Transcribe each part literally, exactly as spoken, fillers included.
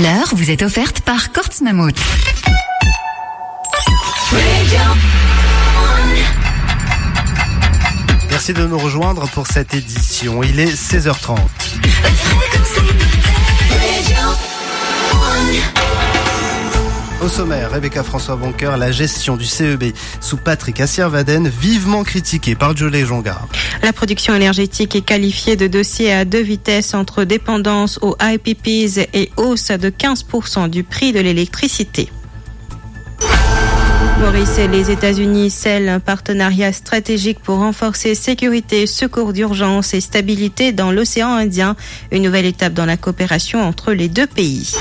L'heure vous est offerte par Courts Mammouth. Merci de nous rejoindre pour cette édition. Il est seize heures trente. Au sommaire, Rebecca François-Boncoeur, la gestion du C E B sous Patrick Assiavaden, vivement critiquée par Jolie Jongar. La production énergétique est qualifiée de dossier à deux vitesses entre dépendance aux I P Ps et hausse de quinze pour cent du prix de l'électricité. Maurice et les États-Unis scellent un partenariat stratégique pour renforcer sécurité, secours d'urgence et stabilité dans l'océan Indien. Une nouvelle étape dans la coopération entre les deux pays.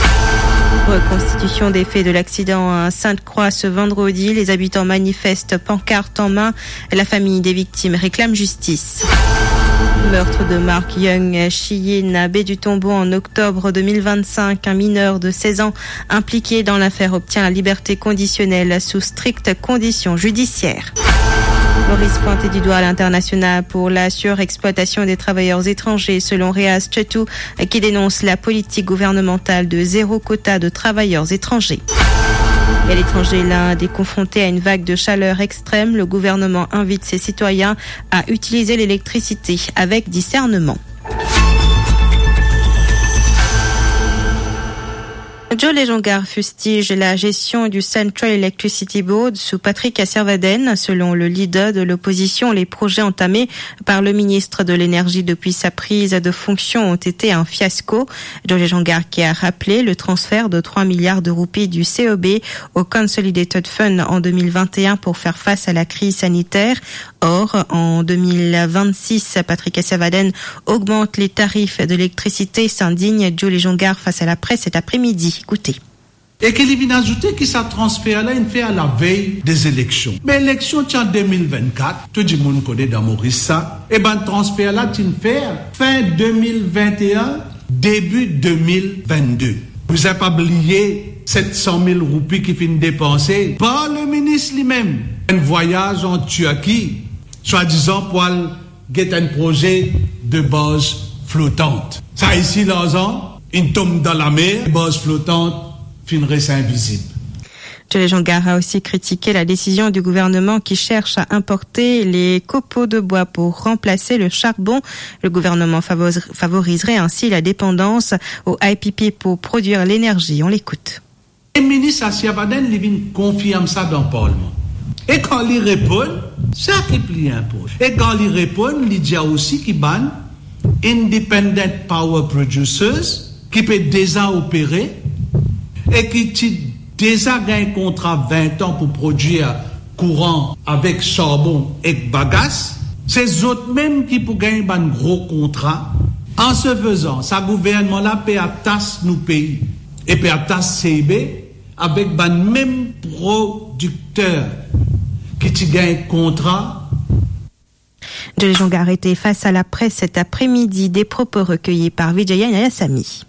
Reconstitution des faits de l'accident à Sainte-Croix ce vendredi. Les habitants manifestent, pancartes en main. La famille des victimes réclame justice. Meurtre de Mark Young Shiyin à Baie du Tombeau en octobre deux mille vingt-cinq. Un mineur de seize ans impliqué dans l'affaire obtient la liberté conditionnelle sous strictes conditions judiciaires. Maurice pointé du doigt à l'international pour la surexploitation des travailleurs étrangers, selon Reaz Chetou, qui dénonce la politique gouvernementale de zéro quota de travailleurs étrangers. Et à l'étranger, l'Inde est confrontée à une vague de chaleur extrême. Le gouvernement invite ses citoyens à utiliser l'électricité avec discernement. Jolie Jongar fustige la gestion du Central Electricity Board sous Patrick Assiavaden. Selon le leader de l'opposition, les projets entamés par le ministre de l'Énergie depuis sa prise de fonction ont été un fiasco. Jolie Jongar qui a rappelé le transfert de trois milliards de roupies du C E B au Consolidated Fund en deux mille vingt et un pour faire face à la crise sanitaire. Or, en deux mille vingt-six, Patrick Assiavaden augmente les tarifs de l'électricité, s'indigne Jolie Jongar face à la presse cet après-midi. Écoutez. E ki li vinn azoute ki sa transfer la inn fer lavey de eleksion. Me eleksion ti an de mil vennkat, tou dimoun kone dan Moris sa, e bann transfer la ti'nn fer fin de mil vennteen, debi de mil vennde. Bizin pa bliye set san mil roupi ki finn depanse par le minis limem, enn vwayaz an Tirki, swadizan pou al get enn proze de baz flotant. Sa isi larzan inn tom dan lamer, baz flotant finn res invizib. Jolie Jongar a aussi critiqué la décision du gouvernement qui cherche à importer les copeaux de bois pour remplacer le charbon. Le gouvernement favor-, favoriserait ainsi la dépendance au I P P pour produire l'énergie. On l'écoute. E minis Assiavaden, li vinn konfirm sa dan parlman. E kan li reponn, sa ki pli inportan. E kan li reponn, li dir osi ki bann independent power producers ki pe deza opere e ki ti deza gagn kontra vin an pou prodwir kouran avek sarbon ek bagas, se zot mem ki pou gagn bann gro kontra. An se fezan, sa gouvernman la pe atas nou pei e pe atas C I B avek bann mem prodikter ki ti gagn kontra. Jolie Jongar était face à la presse cet après-midi, des propos recueillis par Vijaya Nayasamy.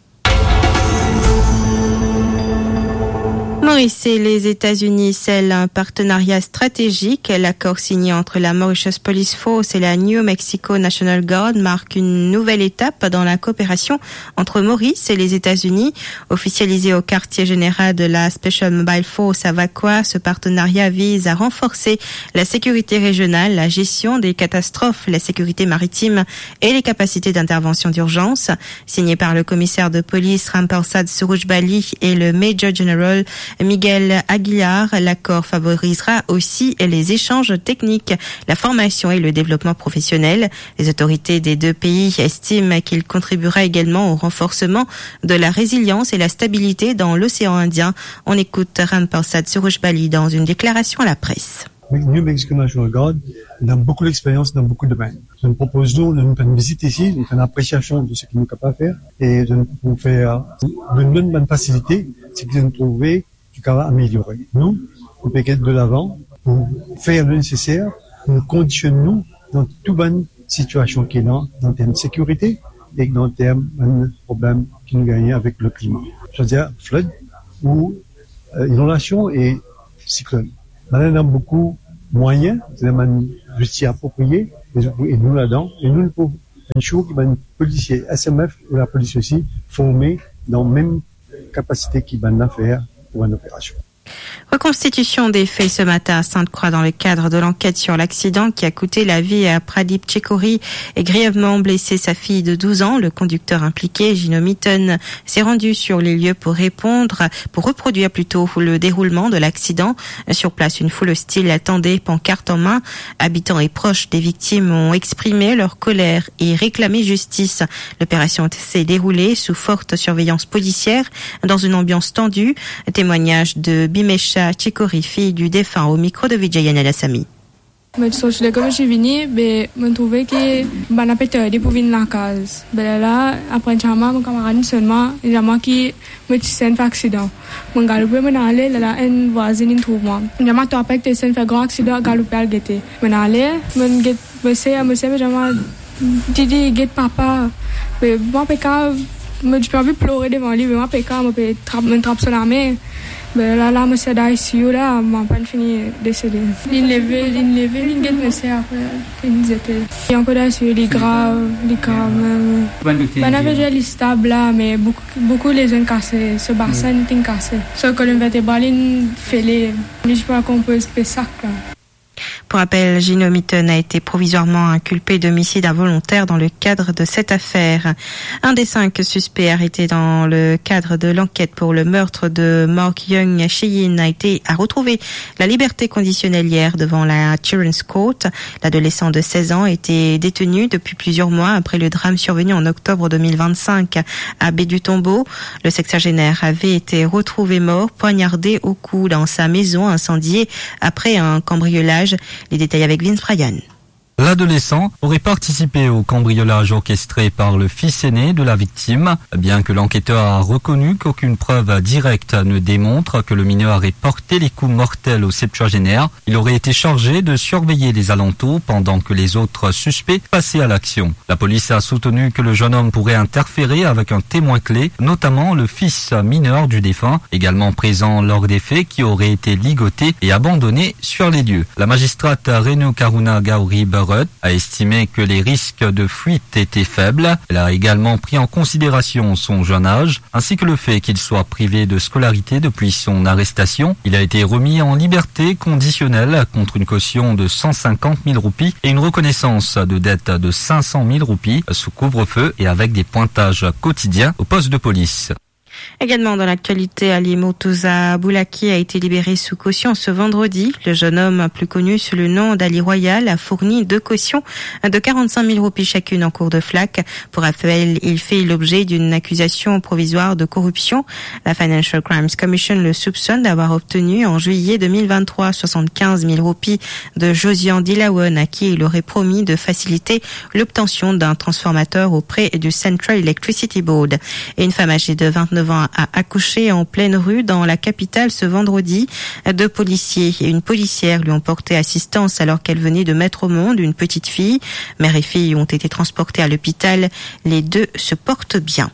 Maurice et les États-Unis scellent un partenariat stratégique. L'accord signé entre la Mauritius Police Force et la New Mexico National Guard marque une nouvelle étape dans la coopération entre Maurice et les États-Unis. Officialisé au quartier général de la Special Mobile Force à Vacoas, ce partenariat vise à renforcer la sécurité régionale, la gestion des catastrophes, la sécurité maritime et les capacités d'intervention d'urgence. Signé par le commissaire de police Ramparsad Surujbali et le Major General Miguel Aguilar, l'accord favorisera aussi les échanges techniques, la formation et le développement professionnel. Les autorités des deux pays estiment qu'il contribuera également au renforcement de la résilience et la stabilité dans l'océan Indien. On écoute Ramparsad Surujbali dans une déclaration à la presse. New Mexico National Guard, nou ena boukou lexperyans dan boukou domenn. Zot inn propoz nou, nou inn fer enn vizit isi, nou inn fer enn apresiasion de seki nou kapav fer, e zot inn fer, nou inn donn bann fasilite, seki zot inn trouve ki kapav ameliore. Nou, nou pe get de lavan pou fer le neseser pou nou kondisionn nou dan tou bann sitiasion ki ena, dan term sekirite e dan term bann problem ki nou gagne avek le klima. Swadir flood ou, euh, inondasion e siklonn. Bann la ena boukou mwayin, ena bann zouti apropriye, e zot pou ed nou ladan, e nou, nou pou ensure ki bann polisie S M F ou lapolis osi forme dan mem kapasite ki bann la fer pou bann operasion. Reconstitution des faits ce matin à Sainte-Croix dans le cadre de l'enquête sur l'accident qui a coûté la vie à Pradip Chikori et grièvement blessé sa fille de douze ans. Le conducteur impliqué, Gino Mitton, s'est rendu sur les lieux pour répondre, pour reproduire plutôt le déroulement de l'accident. Sur place, une foule hostile attendait, pancarte en main. Habitants et proches des victimes ont exprimé leur colère et réclamé justice. L'opération s'est déroulée sous forte surveillance policière, dans une ambiance tendue. Témoignage de Bimesha Chikori, fille du défunt, au micro de Vijay Nandasamy. Mo ti sorti lekol, mo ti vini, be mo trouve ki bann la pe tarde pou vinn lakaz. Be lerla, apre enn ti moman, mo kamarad inn sonn mwa, li dir mwa ki mo ti sinn fer aksidan. Mo galoupe, mo ale, lerla enn vwazin inn trouv mwa. Li dir mwa, to apre ki to sinn fer gran aksidan, galoupe al gete. Mo ale, mo get, mo sar, mo sar, mo dir mwa, Didi, get papa. Me mwa pe kav, mo ti pe anvi plore devan li, me mwa pe kav, mo pe trap, mo trap so lame. Be lerla, mo sar dan I C U la, mo pa'nn fini desede. Linn leve, linn leve, linn get mo sar, apre linn zete. Li ankor dan I C U, li grav, li grav mem. Bann la pe dir li stab la, me boukou, boukou lezonn kase, so basin inn kase. So kolonn vertebral inn fele. Li ti pa konpoz pe sak la. Pour rappel, Gino Mitton a été provisoirement inculpé d'homicide involontaire dans le cadre de cette affaire. Un des cinq suspects arrêtés dans le cadre de l'enquête pour le meurtre de Mark Young Shiyin a été, a retrouvé la liberté conditionnelle hier devant la Children's Court. L'adolescent de seize ans était détenu depuis plusieurs mois après le drame survenu en octobre deux mille vingt-cinq à Baie du Tombeau. Le sexagénaire avait été retrouvé mort, poignardé au cou dans sa maison incendiée après un cambriolage. Les détails avec Vince Bryan. L'adolescent aurait participé au cambriolage orchestré par le fils aîné de la victime. Bien que l'enquêteur a reconnu qu'aucune preuve directe ne démontre que le mineur ait porté les coups mortels au septuagénaire, il aurait été chargé de surveiller les alentours pendant que les autres suspects passaient à l'action. La police a soutenu que le jeune homme pourrait interférer avec un témoin clé, notamment le fils mineur du défunt, également présent lors des faits, qui aurait été ligoté et abandonné sur les lieux. La magistrate Renu Karuna Gowri Bharat a estimé que les risques de fuite étaient faibles. Elle a également pris en considération son jeune âge, ainsi que le fait qu'il soit privé de scolarité depuis son arrestation. Il a été remis en liberté conditionnelle contre une caution de cent cinquante mille roupies et une reconnaissance de dette de cinq cent mille roupies sous couvre-feu et avec des pointages quotidiens au poste de police. Également dans l'actualité, Ali Murtuza Boulaki a été libéré sous caution ce vendredi. Le jeune homme, plus connu sous le nom d'Ali Royal, a fourni deux cautions de quarante-cinq mille roupies chacune en cours de flac. Pour rappel, il fait l'objet d'une accusation provisoire de corruption. La Financial Crimes Commission le soupçonne d'avoir obtenu en juillet deux mille vingt-trois soixante-quinze mille roupies de Josian Dilawan, à qui il aurait promis de faciliter l'obtention d'un transformateur auprès du Central Electricity Board. Et une femme âgée de vingt-neuf ans a accouché en pleine rue dans la capitale ce vendredi. Deux policiers et une policière lui ont porté assistance alors qu'elle venait de mettre au monde une petite fille. Mère et fille ont été transportées à l'hôpital. Les deux se portent bien.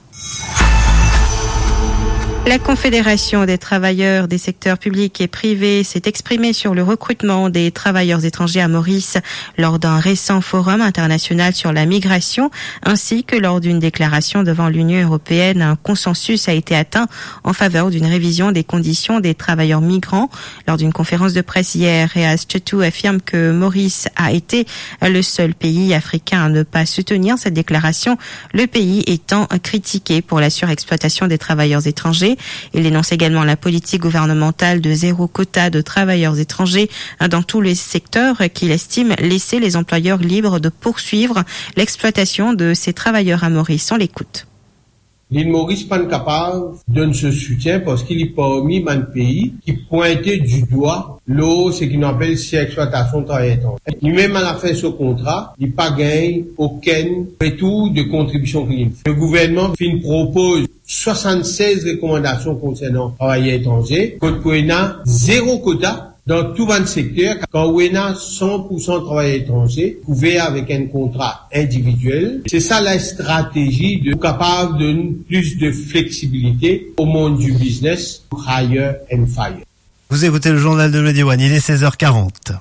La Confédération des travailleurs des secteurs publics et privés s'est exprimée sur le recrutement des travailleurs étrangers à Maurice lors d'un récent forum international sur la migration, ainsi que lors d'une déclaration devant l'Union européenne. Un consensus a été atteint en faveur d'une révision des conditions des travailleurs migrants. Lors d'une conférence de presse hier, Reaz Chetou affirme que Maurice a été le seul pays africain à ne pas soutenir cette déclaration, le pays étant critiqué pour la surexploitation des travailleurs étrangers. Il dénonce également la politique gouvernementale de zéro quota de travailleurs étrangers dans tous les secteurs, qu'il estime laisser les employeurs libres de poursuivre l'exploitation de ces travailleurs à Maurice. On l'écoute. Lil Moris pa'nn kapav donn so soutien parski li parmi bann pei ki pwinte didwa lor seki nou apel surexploitasion travayer etranze. Li mem, alafin so kontra, li pa gagn okenn retour de kontribision ki li fer. Le gouvernman finn propoz swasann-sez rekomandasion konsernan travayer etranze, kot pou ena zero kota dan tou bann sekter, kan ou ena san pou san travayer etranze kouver avek enn kontra individiel. Se sa la stratezi de, pou kapav donn plis de fleksibilite o mond di biznes, hire and fire. Vous écoutez le journal de Medi One, il est seize heures quarante.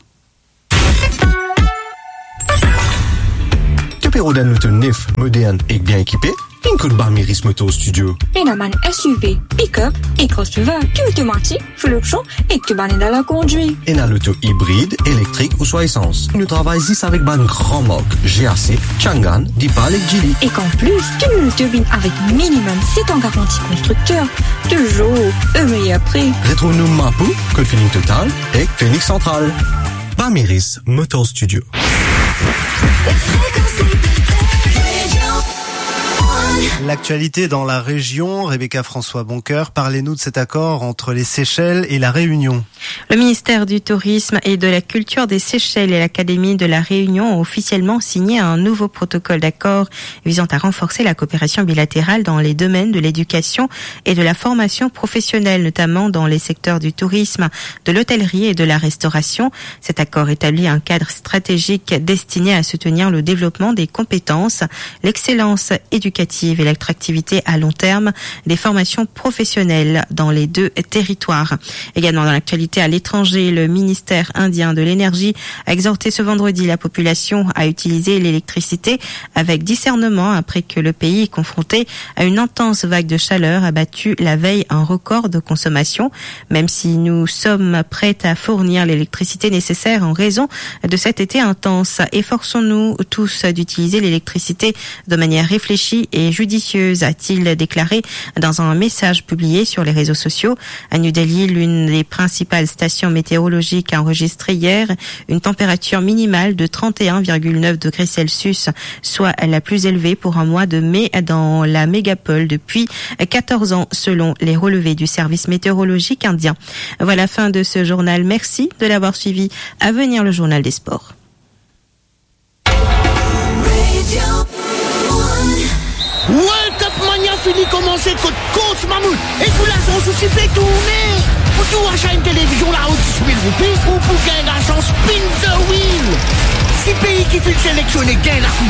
To pe rod enn loto nef, modern ek bien ekipe? Vinn kot Bamiris Motor Studio. Ena bann S U V, pick-up e crossover, ki otomatik, full option e ki bann ed a la kondwir. Ena loto ibrid, elektrik ouswa esans. Nou travay zis avek bann gran mark, G A C, Changan, Deepal ek Geely. Ek an plis, tou nou loto vinn avek minimum set an garanti konstrikter, touzour o meyer pri. Retrouv nou Mapou, kot Feeling Total ek Phoenix Central. Bamiris Motor Studio. L'actualité dans la région, Rebecca François Boncoeur, parlez-nous de cet accord entre les Seychelles et la Réunion. Le ministère du Tourisme et de la Culture des Seychelles et l'Académie de la Réunion ont officiellement signé un nouveau protocole d'accord visant à renforcer la coopération bilatérale dans les domaines de l'éducation et de la formation professionnelle, notamment dans les secteurs du tourisme, de l'hôtellerie et de la restauration. Cet accord établit un cadre stratégique destiné à soutenir le développement des compétences, l'excellence éducative et l'attractivité à long terme des formations professionnelles dans les deux territoires. Également dans l'actualité à l'étranger, le ministère indien de l'énergie a exhorté ce vendredi la population à utiliser l'électricité avec discernement après que le pays, confronté à une intense vague de chaleur, a battu la veille un record de consommation. Même si nous sommes prêts à fournir l'électricité nécessaire en raison de cet été intense, efforçons-nous tous d'utiliser l'électricité de manière réfléchie et judicieuse, a-t-il déclaré dans un message publié sur les réseaux sociaux. À New Delhi, l'une des principales stations météorologiques a enregistré hier une température minimale de trente et un virgule neuf degrés Celsius, soit la plus élevée pour un mois de mai dans la mégapole depuis quatorze ans, selon les relevés du service météorologique indien. Voilà, fin de ce journal. Merci de l'avoir suivi. À venir, le journal des sports. World Cup Mania fini komanse kot Coach Mammouth e pou lazans osi pe tourne. Pou tou acha enn televizion lao dis mil roupi ou pou gagn lazans Spin the Wheel. Si pei ki finn selektione gagn lakoup